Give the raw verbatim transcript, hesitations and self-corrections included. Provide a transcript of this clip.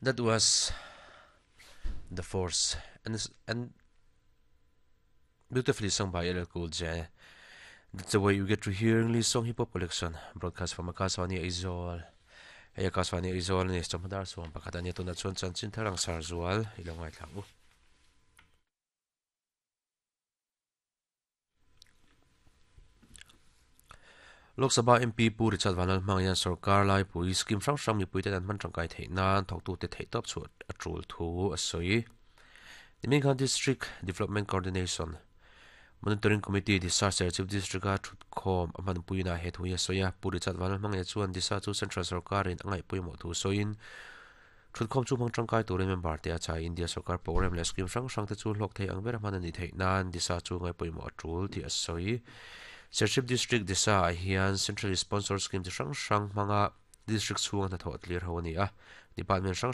That was The Force and, and beautifully sung by L L Cool J. That's the way you get to hear English song hip hop collection broadcast from Akaswani Aizawl. Hei Akaswani Aizawl ni chawhma sawm pakhat ania tuna chuan chanchin tharang sar zual ilo ngai thlang u. Lok Sabha M P Pu Richard Vanlal hmang hian sarkar lai pui scheme hrang hrang mipui te an hman tangkai theih nan thawktu te theih tawp chu a tul thu a sawi. Nimingkhan District Development Coordination Monitoring Committee Disa Serchhip District a thutkhawm a hman puina he thu hi a sawi a. Pu Richard Vanlal hmang hian chuan Disa chu Central Sarkarin a ngaih pawimawh thu sawiin thutkhawm chu hmang tangkai turin member te a chai India Sarkar program leh scheme hrang hrang te chu hlawk thei ang ber a hman ani theih nan Disa chu ngaih pawimawh a tul tih a sawi. Serchhip District Disa ah hian Central Sponsor Scheme ti hrang hrang hmanga District chhunga hnathawh tlir ho ani a. Department hrang hrang